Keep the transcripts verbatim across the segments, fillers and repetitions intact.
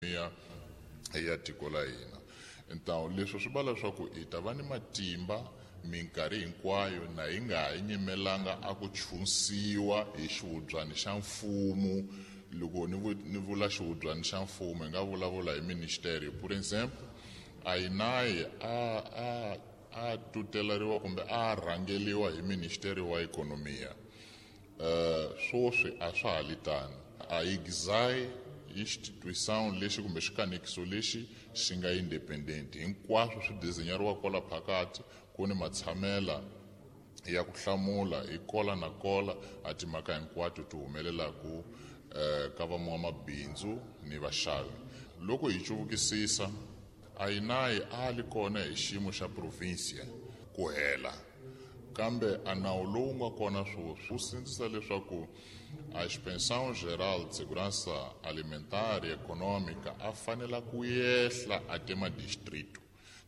Ya ya tiko la hina. Então leswi swi vula leswaku hi ta va ni matimba minkarhi hinkwayo na hi nga ha nyimelanga a ku chunsiwa hi xihubyani xa mfumo. Loko ni ni vula xihubyani xa mfumo hi nga vulavula hi ministeri. Por exemple, a I N A I a a a tuteleriwa kumbe a rhangeliwa hi ministeri wa ekonomiya. Uh, swoswi a swa ha li tano. A I G S A I instituição lexi kumbe xikanekiso lexi xi nga independent, hinkwaswo swi desenhariwa kwala phakathi, ku ni matshamela ya ku hlamula hi kola na kola a timhaka hinkwato ti humelelaku eh, ka van'wamabindzu ni vaxavi. Loko hi cuvukisisa, a I N A I a li kona hi xiyimo xa provincia ku hela, kambe a nawu lowu nga kona sweswi wu sindzisa leswaku a Inspeção Geral de Segurança Alimentar e Econômica a fanela ku yehla até madistrito.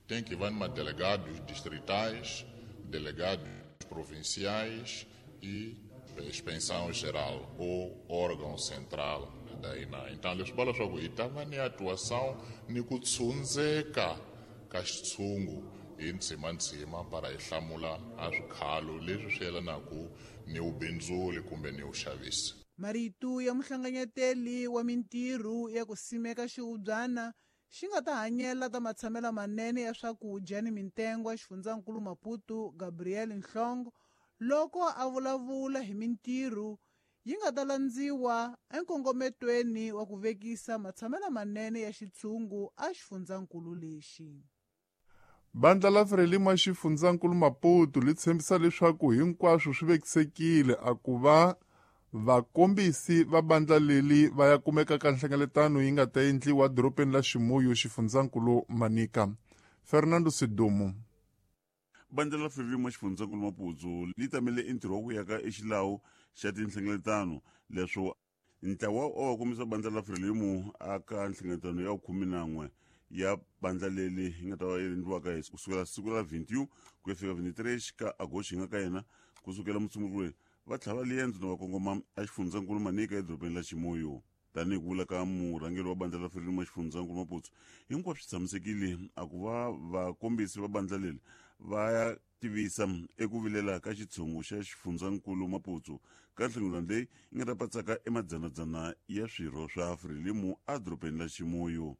Tem que va ni madelegados distritais, delegados provinciais e inspeção geral ou órgão central da I N A I. Então leswi vula leswaku hi ta va ni atuação ni ku tshundzeka ka xitshungu hi ndzima-ndzima para hi hlamula a swikhalo leswi swi yelanaka ni vubindzuli kumbe ni vuxavisi. Marito ya muhlanganyeteli wa mintirho ya ku simeka xihubyana xi nga ta hanyela ta matshamelo manene ya swakudya ni mitengo eXifundzankulu Maputo, Gabriel Nhlongo, loko a vulavula hi mintirho yi nga ta landziwa enkongometweni wa ku vekisa matshamelo manene ya xitshungu exifundzankulu lexi. Bandla la Frelimo ya xifundzankulu Maputo li tshembisa leswaku hinkwaswo swi vekisekile a ku va vakombisi va bandla leli va ya kumeka ka nhlengeletano yi nga ta endliwa dorobeni la Ximuyo, xifundzankulu Manica. Fernando Sidumo. Bandla la Frelimo xifundzankulu Maputo li tamele entirho wa ku yaka exilawu xa tinhlengeletano. Leswo ntlawa wa va kombisa bandla la Frelimo aka nhlengeletano ya khume na n'we ya bandla leli yi nga ta va yi endliwaka hi kusukela siku ra vinti ku ya fika vinti-três ka agosto hi nga ka yena. Kusukela Musumbhunuku va tlhava liendzo na va kongoma exifundzankulu Manica edorobeni la Ximuyo. Tanihi ku vula ka murhangeri wa bandla la Frelimo xifundzankulu Maputo, hinkwaswo swi tshamisekile a ku va vakombisi va bandla leri va ya tivisa eku vilela ka xitshungu xa xifundzankulu Maputo ka nhlengeletano leyi yi nga ta patsaka emadzanadzana ya swirho swa Frelimo edorobeni la Ximuyo.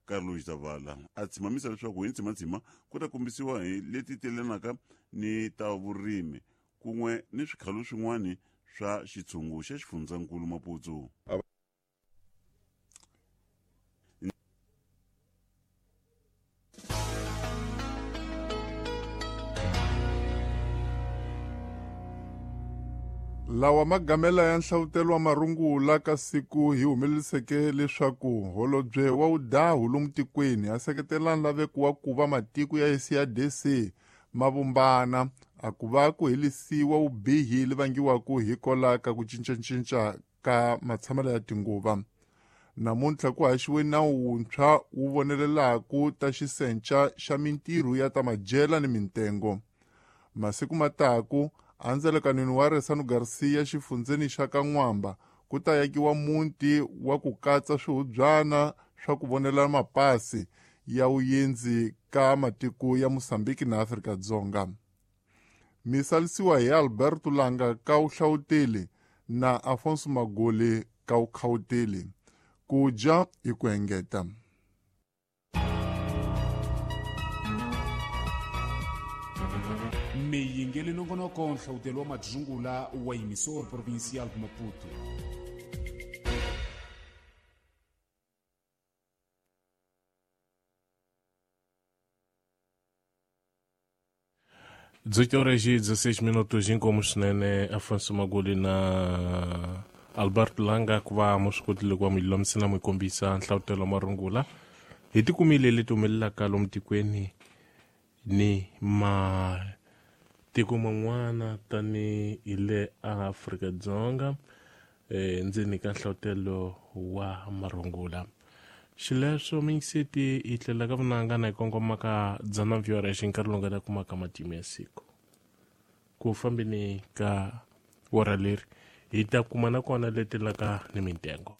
Carlos Zavala a tshimamisa leswaku hi ndzima-ndzima ku ta kombisiwa hi leti telanaka ni ta vurimi kun'we ni swikhalo swin'wana swa xitshungu xa xifundzankulu Maputo. Lawa magamela ya nhlavutelo wa marungula ka siku hi humeleliseke leswaku holobye wa wudahu lomu tikweni a seketela nlaveko wa ku va matiko ya S A D C ma vumbana a ku va ku helisiwa vubihi li vangiwaka hi kola ka ku cincacinca ka matshamelo ya tinguva. Namuntlha ku haxiwe nawu wuntshwa wu vonelelaku ta xisenca xa mintirho ya ta madyela ni mintengo. Masiku mataku andzelekanweni wa Resano Garcia xifundzeni xa Kan'wamba ku ta yakiwa muti wa ku katsa swihubyana swa ku vonela mapasi ya vuyendzi ka matiko ya Mosambiki na Afrika-Dzonga. Misalisiwa hi Alberto Langa ka vuhlawuteli na Afonso Magoli ka vukhawuteli. Ku dya hi ku engeta. Miyingeli nongonoko nhlawutelo wa madzungula wa Emissor Provincial Maputo. dezoito horas e dezesseis minutos, inkomu swinene Afonso Magoli na Alberto Langa ku va mu swi kotile ku va mu lulamisela mu kombisa nhlavutelo wa marungula hi tikumile leti humelelaka lomu tikweni ni matiko man'wana tani hi le Afrika-Dzonga eh, ndzeni ka nhlavutelo wa marungula. Xileswo mingiseti hi tlela ka vunanga na hi kongoma ka dzana mbyora xi nkarhi lowu nga ta kumaka matimu ya siku ku fambeni ka wora leri hi ta kuma na kona leti laka ni mintengo.